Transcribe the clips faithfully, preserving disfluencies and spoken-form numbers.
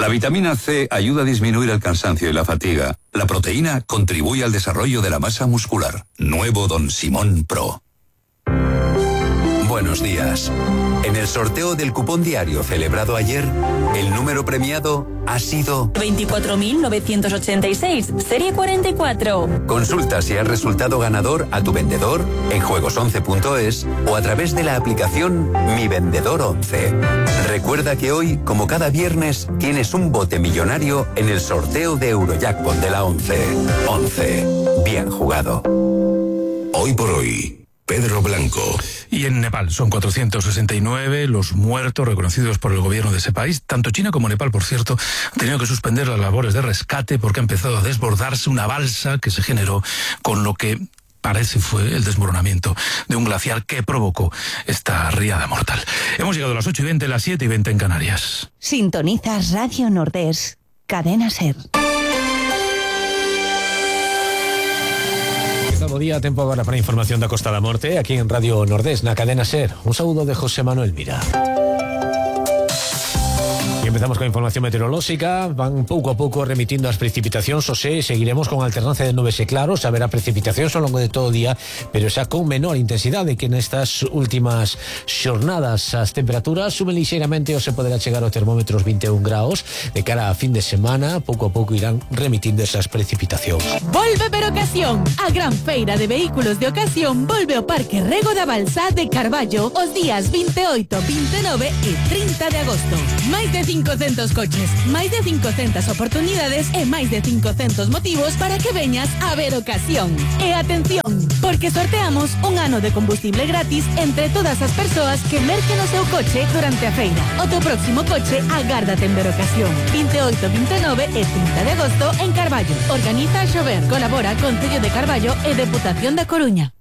La vitamina C ayuda a disminuir el cansancio y la fatiga. La proteína contribuye al desarrollo de la masa muscular. Nuevo Don Simón Pro. Buenos días. En el sorteo del cupón diario celebrado ayer, el número premiado ha sido veinticuatro mil novecientos ochenta y seis, serie cuarenta y cuatro. Consulta si has resultado ganador a tu vendedor en juegos once punto es o a través de la aplicación Mi Vendedor once. Recuerda que hoy, como cada viernes, tienes un bote millonario en el sorteo de Eurojackpot de la once. once. Bien jugado. Hoy por hoy, Pedro Blanco. Y en Nepal son cuatrocientos sesenta y nueve los muertos reconocidos por el gobierno de ese país. Tanto China como Nepal, por cierto, han tenido que suspender las labores de rescate porque ha empezado a desbordarse una balsa que se generó con lo que parece fue el desmoronamiento de un glaciar que provocó esta riada mortal. Hemos llegado a las ocho y veinte, las siete y veinte en Canarias. Sintonizas Radio Nordés, Cadena SER. Bo día, tempo agora para a información da Costa da Morte aquí en Radio Nordés, na Cadena SER. Un saúdo de José Manuel Mira. E empezamos con a información meteorolóxica. Van pouco a pouco remitindo as precipitacións, o se seguiremos con alternancia de nubes e claros. Haberá precipitacións ao longo de todo o día, pero xa con menor intensidade que nestas últimas xornadas. As temperaturas suben lixeiramente, ou se poderá chegar aos termómetros vinte e un graus. De cara a fin de semana, pouco a pouco irán remitindo esas precipitacións. Volve Verocasión, a gran feira de vehículos de ocasión volve ao Parque Rego da Balsa de Carballo os días vinte e oito, vinte e nove e trinta de agosto. Máis de cincocentos coches, máis de cincocentas oportunidades e máis de cincocentos motivos para que veñas a ver ocasión. E atención, porque sorteamos un ano de combustible gratis entre todas as persoas que merquen o seu coche durante a feira. O teu próximo coche agárdate en ver ocasión. vinte e oito, vinte e nove e trinta de agosto en Carballo. Organiza a Xover, colabora Concello de Carballo e Deputación da Coruña.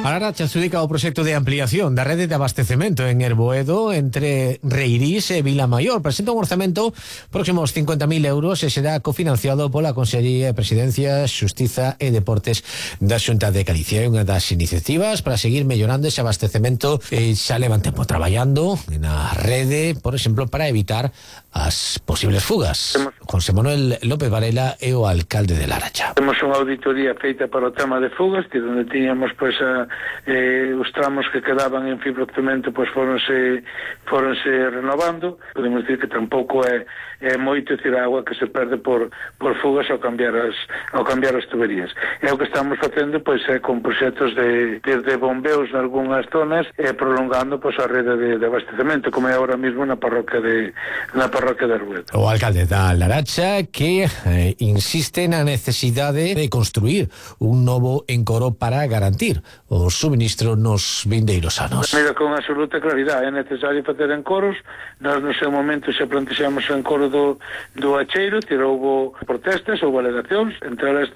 A Laracha adxudica o proxecto de ampliación da rede de abastecemento en Erboedo entre Reirís e Vilamaior. Presenta un orzamento próximos cincuenta mil euros e será cofinanciado pola Consellería de Presidencia, Xustiza e Deportes da Xunta de Galicia. É unha das iniciativas para seguir mellorando ese abastecemento e xa levan tempo traballando na rede, por exemplo, para evitar as posibles fugas. José Manuel López Varela é o alcalde de Laracha. Temos unha auditoría feita para o tema de fugas, que onde tiñamos pois a Eh, os tramos que quedaban en fibrocemento pois foronse foronse renovando. Podemos dicir que tampouco é, é moito, decir, a agua que se perde por, por fugas ao cambiar as ao cambiar as tuberías. E o que estamos facendo pois é con proxectos de, de, de bombeos en algunhas zonas e prolongando pois a rede de, de abastecemento, como é ahora mismo na parroquia de na parroquia de Arbuedo. O alcalde da Laracha que eh, insiste na necesidade de construir un novo encoro para garantir o suministro nos vindeiros anos. Mira, con absoluta claridade, é necesario facer encoros. Nós no seu momento xa plantexamos o encoro do, do Acheiro, tira, houve protestas, houve alegacións, entre elas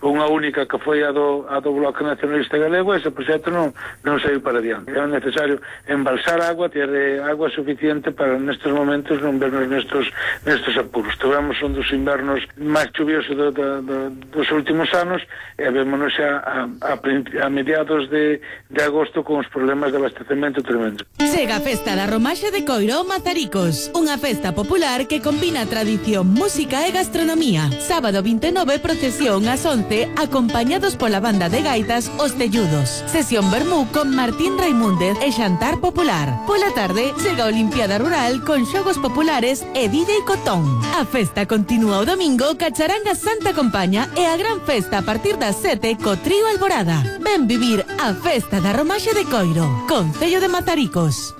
unha única que foi a do, a do Bloque Nacionalista Galego. Ese proxecto non, non saiu para diante. É necesario embalsar agua, ter agua suficiente para nestes momentos non vernos nestes, nestes apuros. Tivemos un dos invernos máis chuviosos do, do, do, dos últimos anos e vémonos xa a, a, a mediados de, de agosto con os problemas de abastecemento tremendo. Chega a Festa da Romaxe de Coiro Mazaricos, unha festa popular que combina tradición, música e gastronomía. Sábado vinte e nove, procesión ás once, acompañados pola banda de gaitas Os Telludos. Sesión vermú con Martín Raimúndez e xantar popular. Pola tarde, chega a Olimpiada Rural con xogos populares e D J Cotón. A festa continúa o domingo, Cacharanga Santa Compaña e a gran festa a partir das sete co Trío Alborada. Ven vivir a Festa da Romaxe de Coiro, Concello de Mazaricos.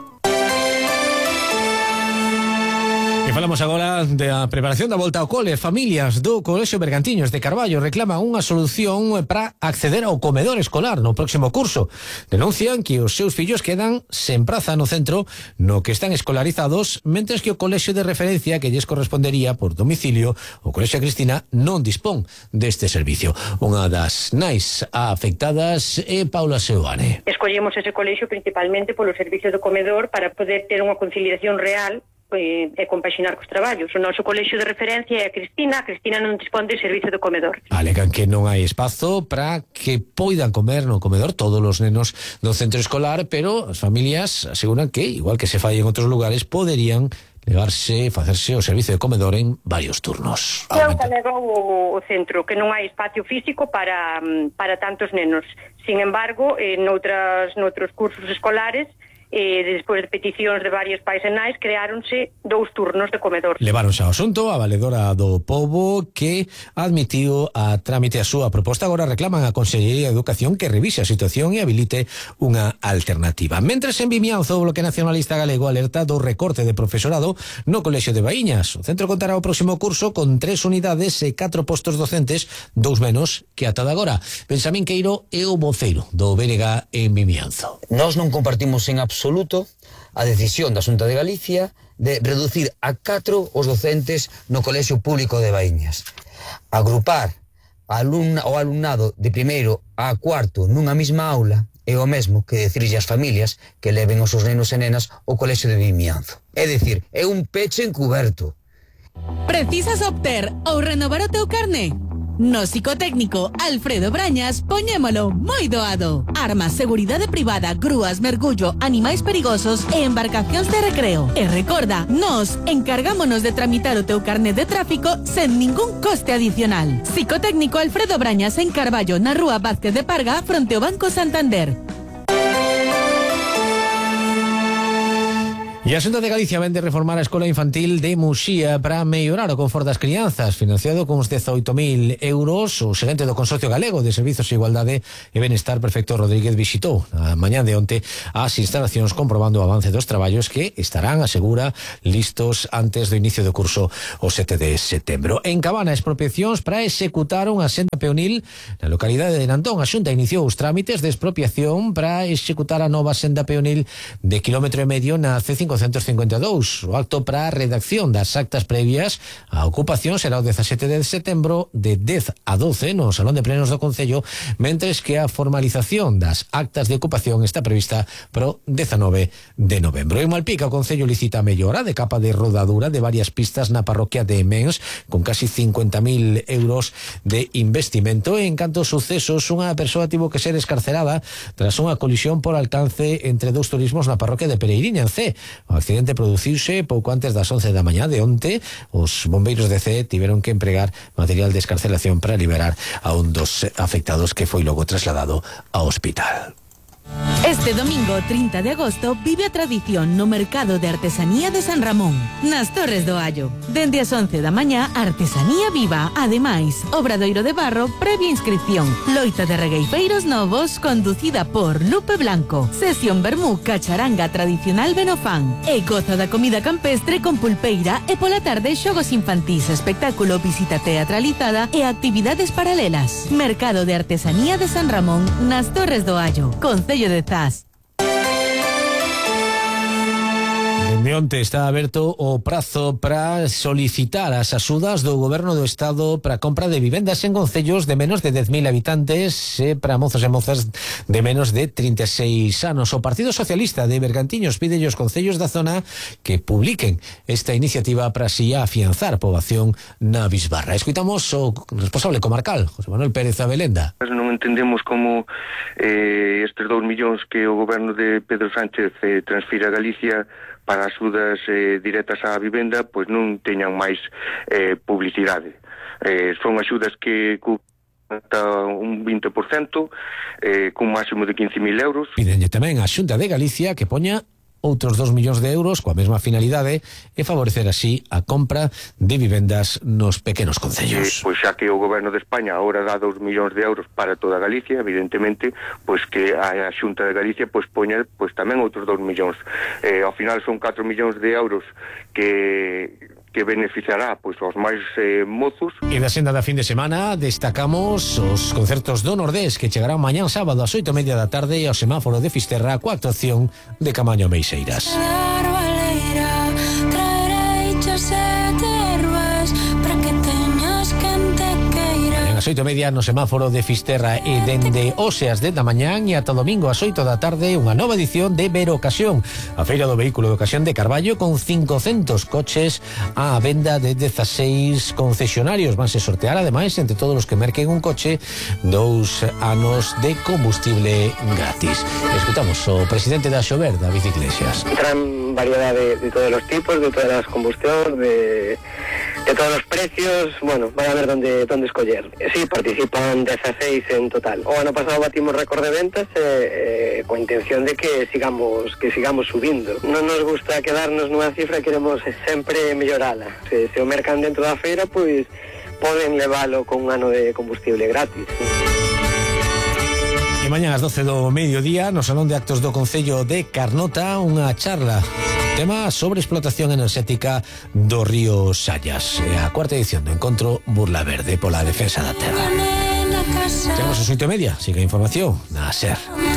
E falamos agora da preparación da volta ao cole. Familias do Colexio Bergantiños de Carballo reclaman unha solución para acceder ao comedor escolar no próximo curso. Denuncian que os seus fillos quedan sen praza no centro no que están escolarizados, mentres que o colexio de referencia que lles correspondería por domicilio, o Colexio Cristina, non dispón deste servicio. Unha das nais afectadas é Paula Seoane. Escollemos ese colexio principalmente polo servicio do comedor para poder ter unha conciliación real e, e compaxinar cos traballos. O noso colexio de referencia é a Cristina. A Cristina non dispón de servicio de comedor. Alegan que non hai espazo para que poidan comer no comedor todos os nenos do centro escolar, pero as familias aseguran que, igual que se fai en outros lugares, poderían levarse, facerse o servicio de comedor en varios turnos. É o que alegou o, o centro, que non hai espacio físico para, para tantos nenos. Sin embargo, en outras, noutros cursos escolares, e despois de peticións de varios pais e nais, creáronse dous turnos de comedor. Leváronse ao asunto a valedora do Pobo, que admitiu a trámite a súa proposta. Agora reclaman a Consellería de Educación que revise a situación e habilite unha alternativa. Mentres en Vimianzo, o Bloque Nacionalista Galego alerta do recorte de profesorado no Colexio de Baíñas. O centro contará o próximo curso con tres unidades e catro postos docentes, dous menos que ata de agora. Benxamín Queiro é o voceiro do B N G en Vimianzo. Nós non compartimos en absoluto a decisión da Xunta de Galicia de reducir a catro os docentes no Colexio Público de Baíñas. Agrupar alumna, o alumnado de primeiro a cuarto nunha mesma aula é o mesmo que decirlle ás familias que leven os seus nenos e nenas ao Colexio de Vimianzo. É dicir, é un peche encuberto. Precisas obter ou renovar o teu carné? No psicotécnico Alfredo Brañas poñémolo moi doado. Armas, seguridade privada, grúas, mergullo, animais perigosos e embarcacións de recreo. E recorda, nós encargámonos de tramitar o teu carné de tráfico sen ningún coste adicional. Psicotécnico Alfredo Brañas en Carballo, na rúa Vázquez de Parga, fronte ao Banco Santander. E a Xunta de Galicia vende reformar a Escola Infantil de Muxía para mellorar o confort das crianzas, financiado con uns dezoito mil euros. O xerente do Consorcio Galego de Servizos de Igualdade e Benestar, Perfecto Rodríguez, visitou a mañá de onte as instalacións comprobando o avance dos traballos que estarán, asegura, listos antes do inicio do curso o sete de setembro. En Cabana, expropiacións para executar unha senda peonil na localidade de Nantón. A Xunta iniciou os trámites de expropiación para executar a nova senda peonil de quilómetro e medio na C cinco cincuenta e dous. O acto para a redacción das actas previas á ocupación será o dezasete de setembro de dez a doce no Salón de Plenos do Concello, mentres que a formalización das actas de ocupación está prevista pro dezanove de novembro. En Malpica, o Concello licita a mellora de capa de rodadura de varias pistas na parroquia de Mens, con casi cincuenta mil euros de investimento. En canto aos sucesos, unha persoa tivo que ser escarcerada tras unha colisión por alcance entre dous turismos na parroquia de Pereiriña, en Cee. O accidente produciuse pouco antes das once da mañá de onte. Os bombeiros de Cee tiveron que empregar material de escarcelación para liberar a un dos afectados, que foi logo trasladado ao hospital. Este domingo trinta de agosto vive a tradición no Mercado de Artesanía de San Ramón, nas Torres do Allo. Dende as once da mañá, artesanía viva. Ademais, obradoiro de barro previa inscripción. Loita de regueifeiros novos conducida por Lupe Blanco. Sesión vermú cacharanga tradicional Benofán. E goza da comida campestre con pulpeira e pola tarde xogos infantís, espectáculo, visita teatralizada e actividades paralelas. Mercado de Artesanía de San Ramón, nas Torres do Allo. Concello de Zas. De onte está aberto o prazo para solicitar as axudas do Goberno do Estado para a compra de vivendas en concellos de menos de dez mil habitantes e para mozos e mozas de menos de trinta e seis anos. O Partido Socialista de Bergantiños pide aos concellos da zona que publiquen esta iniciativa para así afianzar a poboación na bisbarra. Escuitamos o responsable comarcal, José Manuel Pérez Abelenda. Non entendemos como eh, estes dous millóns que o Goberno de Pedro Sánchez eh, transfira a Galicia para axudas eh, directas á vivenda, pois non teñan máis eh, publicidade. Eh, son axudas que ata un vinte por cento, eh, cun máximo de quince mil euros. Pidenlle tamén a Xunta de Galicia que poña outros dos millóns de euros coa mesma finalidade e favorecer así a compra de vivendas nos pequenos concellos. Eh, pois xa que o Goberno de España agora dá dos millóns de euros para toda Galicia, evidentemente, pois que a Xunta de Galicia pois poña pois tamén outros dos millóns. Eh, ao final son catro millóns de euros que que beneficiará pois aos máis eh, mozos. E da senda da fin de semana destacamos os concertos do Nordés que chegarán mañán sábado ás oito e media da tarde e ao semáforo de Fisterra coa actuación de Camaño Meixeiras. oito e media no semáforo de Fisterra e dende hoxe ás dez da mañán e ata domingo ás oito da tarde unha nova edición de Vero Ocasión, a feira do vehículo de ocasión de Carballo, con cincocentos coches á venda de dezaseis concesionarios. Vanse sortear ademais entre todos os que merquen un coche dous anos de combustible gratis. Escutamos o presidente da Xover, David Iglesias. Gran variedad de, de todos los tipos, de todas las combustión, de, de todos los precios. Bueno, van a ver dónde, dónde escoller. Sí, participan dezaseis en total. O ano pasado batimos récord de ventas eh, eh, coa intención de que sigamos que sigamos subindo. Non nos gusta quedarnos nunha cifra, queremos sempre mellorala. Se, se o mercan dentro da feira, pois poden levalo con un ano de combustible gratis. E mañá ás doce do mediodía no Salón de Actos do Concello de Carnota unha charla, tema sobre explotación enerxética do río Sallas, e a cuarta edición do encontro Burla Verde pola defensa da terra. Chegamos ás oito e media, siga a información na SER.